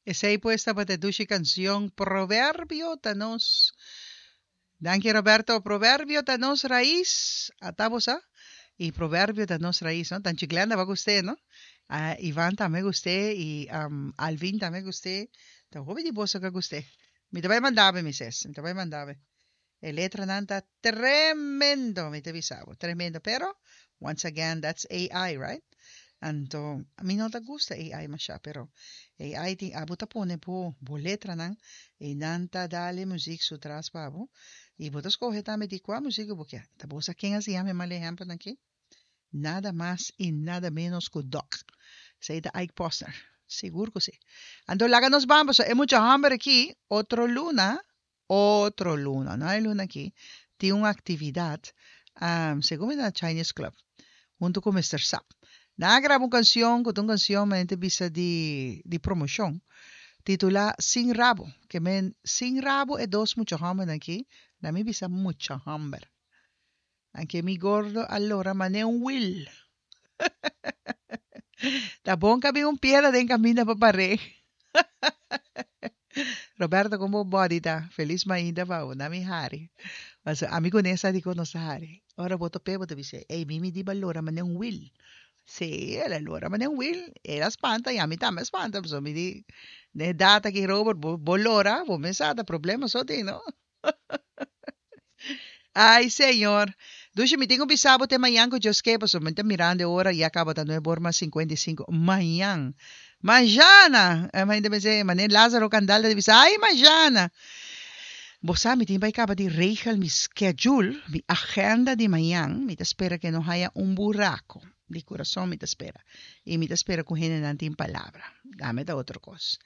Esei pues tabata e dushi canción Proverbio ta nos. Danki Roberto. Proverbio ta nos rais. Ata bo sa? Y Proverbio ta nos rais, no? Tanchi Glenda ba gust'é, no? Ah, Ivan tambe gust'é y um, Alvin tambe gust'é. Ta hopi di boso ka gust'é. Mi ta bai mandabe, mi ses. Mi ta bai mandabe. E letranan ta tremendo, mi ta bisa bo, tremendo. Pero, once again, that's AI, right? Anto, mi no ta gusta AI masha, pero AI tin, abo ta pone bo, bo letranan, i nan ta dal e muziek su tras pa bo, i bo ta skohe tambe di kua muziek ku bo kier. Ta bo sa ken a siña mi mal ehèmpelnan aki? Nada mas i nada ménos ku Doc. Esei ta Ike Posner. Sigur ku si. Anto laga nos ban, pasobra e mucha hòmber aki, otro luna, Otro luna, no e luna aki, tin un actividad, segun mi na Chinese Club, hunto cu Mister Sap. Nan a graba un cancion cu ta un cancion men ta bisa di di promocion, titula Sin Rabo, ke men sin rabo e dos mucha hombernan aki, na mi bisa mucha homber. Anke mi gordo a lora mane un wiel. Ta bon ka bin un piedra den caminda pa par'é. Roberto con bo body ta? Feliz mainta pa bo. Na mi hari. Paso ami cu Nessa di con nos ta hari. Ora bo top'é bo ta bisa, ey mi mi di ba lora mane un wiel. Sí, el a lora mane un wiel. El a spanta y ami tambe a spanta. Paso mi di, n'e data aki Robert bo bo lora, bo mesa ta problema so tin no. Ay, Señor. Dushi, mi tin ku bisa bo te mañan ku Dios ke, pasobra mi ta mirando e ora, ya kaba ta nuebe or mas sinkuenta i sinku. Mañan. Majana! E hende pens'é, manera Lázaro Kandal ta bisa, ay, majana! Bo sa, mi tin bai kaba di regel mi schedule, mi agenda di mañan. Mi ta spera ke no haya un buraco. Di kurason mi ta spera. I mi ta spera ku hendenan tin palabra. Dame ta otro kos.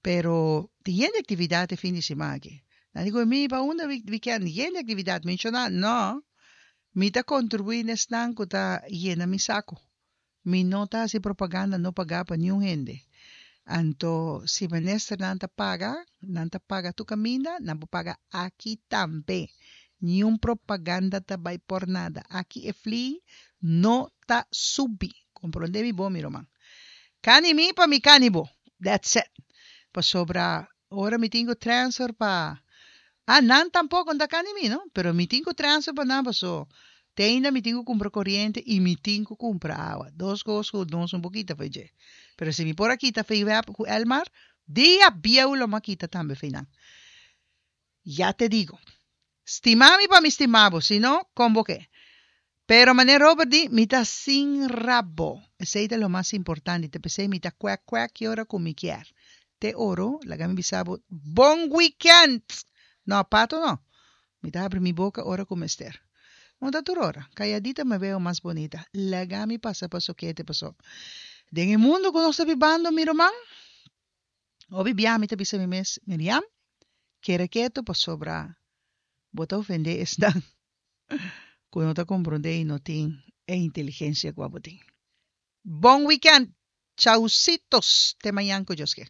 Pero tin yen di actividad e fin di siman aki. Nan di cu mi pa unda weekend? Yen di actividad. Menciona? No. Mi ta contribui n'esnan cu ta yena mi saco. Mi no ta haci propaganda no paga pa niun hende. Anto si ministernan ta paga, nan ta paga tur caminda, nan por paga aki tambe. Niun propaganda ta bay por nada. Aki e fli no ta subi. Comprende mi bon mi ruman. Kani mi pa mi kani bo. That's it. Pasobra ora mi tin ku transfer pa Ah, nan tampoko no ta kani mi no, pero mi tin ku transfer pa nan paso te ainda mi tin ku kumpra koriente i mi tin ku kumpra awa. Dos kos ku nos no por kita fo'i dje. Pero si mi por a kita fo'i web ku Elmar, dia bieu lo mi a kita tambe fo'i nan. Ya te digo. Stima mi pa mi stima bo, si no, kon bo ke? Pero manera Robert di, mi ta sin rabo. Esei ta lo mas importante, ta p'esei mi ta kwek kwek ki ora ku mi kier. Te oro, laga mi bisa bo, bon weekend! No, pato no. Mi ta habri mi boka ora ku mester. No ta tur ora. Kayadita me veo mas bonita. Laga mi pasa pa sokete paso. Den e mundu ku nos ta bibando, mi ruman, Hopi bia mi ta bisa mi mes, Miriam, kere ketu pasobra bo ta ofendé esnan ku no ta komprondé i no tin e inteligensia ku abo tin. Bon weekend! Chausitos! Te mañan ku Dios ke.